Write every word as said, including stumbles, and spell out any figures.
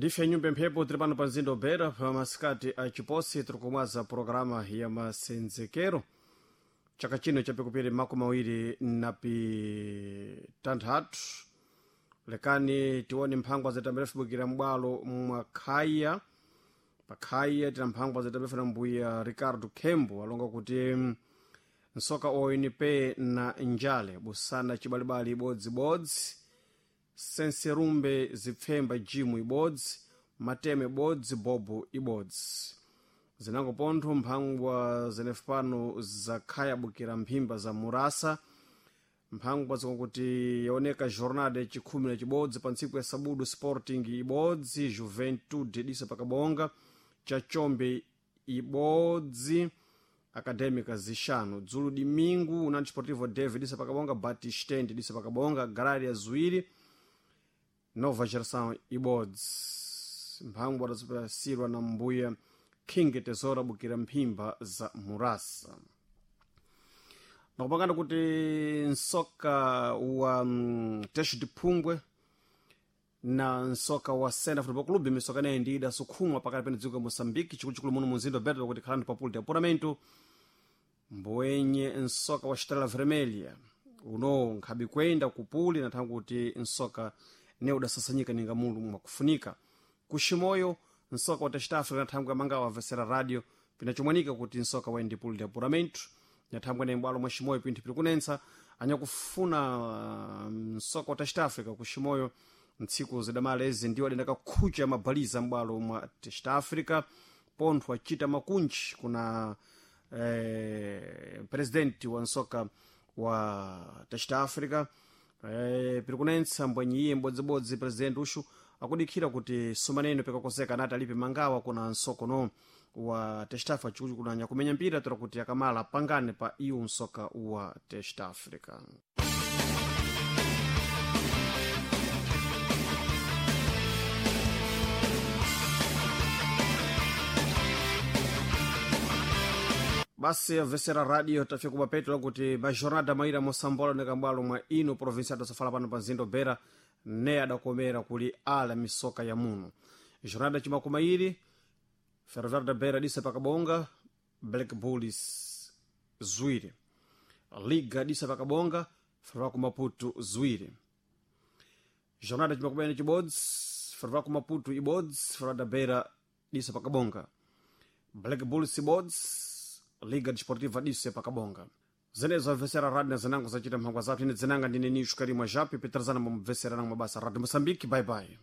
Ndife nyumba mphepo tiri pano pa mzinda Beira pa masikati a chiposi tiri kumwaza programa ya masenzekero chaka chino chapikupiri makumi awiri na pitanthatu. Lekani tione mphangwa zitamberefubukira m'bwalo mwa khaya pakhaya tina mphangwa zitamberefuna mbuya Ricardo Kembo alonga kuti nsoka oyu ni pe na njale busana cibalibali ibodzibodzi, senserumbe zipfemba jimu ibodzi, mateme ibodzi, bobo ibodzi. Zinango pontho mphangwa zenefu pano zakhayabukira mphimba za murasa. Mphangwa zikakuti yaoneka jornada yacikhumi na cibodzi pa ntsiku ya sabudu, Sporting ibodzi, Juventude disa pakabonga, Chachombe ibodzi, Acadêmica zixanu. Dzulu dimingu União Desportivo Deve disa pakabonga, Batistente disa pakabonga, Agrária ziwiri, Nova Geração ibodzi. Mphangwa adazipasirwa na mbuya King Tesoura bukira mphimba za murasa. Nakupangana kuti nsoka wa mm, Texo de Phungwe na nsoka wa Sena Football Club misoka naye ndi idasukhumwa pakati pene dziko ya Moçambique, chikuluchikulu muno munzinda wa Beira, kuti khalani pa puli de apuramento mbowenye nsoka wa Estrela Vermelha uno nkhabi kwenda kupuli nathangu kuti nsoka ne udasasanyika ninga mulu mwakufunika kuximoyo nsoka wa Teste Africa nathangu amangawa avesera radio pinachomwanika kuti nsoka wa ndipuli de apuramento nyathangwe ne m'bwalo mwa ximoyo pinthu pili kunentsa anyakufuna nsoka wa Teste Africa kuximoyo ntsiku zidamala ezi ndiwo adendaka khucha mabaliza m'bwalo mwa Teste Africa pontho acita makunji kuna eh, presidenti wa nsoka wa Teste Africa eh, pili kunentsa mbwanyi iye mbodzibodzi presidenti uxu akudikhira kuti sumaneno pikakoseka anati alipe mangawa kuna nsokono wa Teste Africa chikuti kunanya kumenya mpira tola kuti akamala apangane pa iwu nsoka wa Teste Africa. Basi avesera radio tafika kumapeto lakuti majornada maira mosambola nekambwalo mwa ino provinsia adasafala pano pa mzinda Beira ne adakomera kuli ala misoka ya muno. Jornada cimakumairi Ferroviário da Beira disa pakabonga Black Bulls ziwiri, Liga disa pakabonga Ferroviário Maputo ziwiri. Jornada cimakumairi cibodzi Ferroviário Maputo ibodzi, Ferroviário da Beira disa pakabonga Black Bulls ibodzi, Liga Desportiva disse pakabonga. Zenezo avesera radio na zinango zacita mphangwa zathu ine dzinanga ndine Nishu Karimwa Japi petrazana mumvesera nango mabasa Radio Moçambique. Bye bye.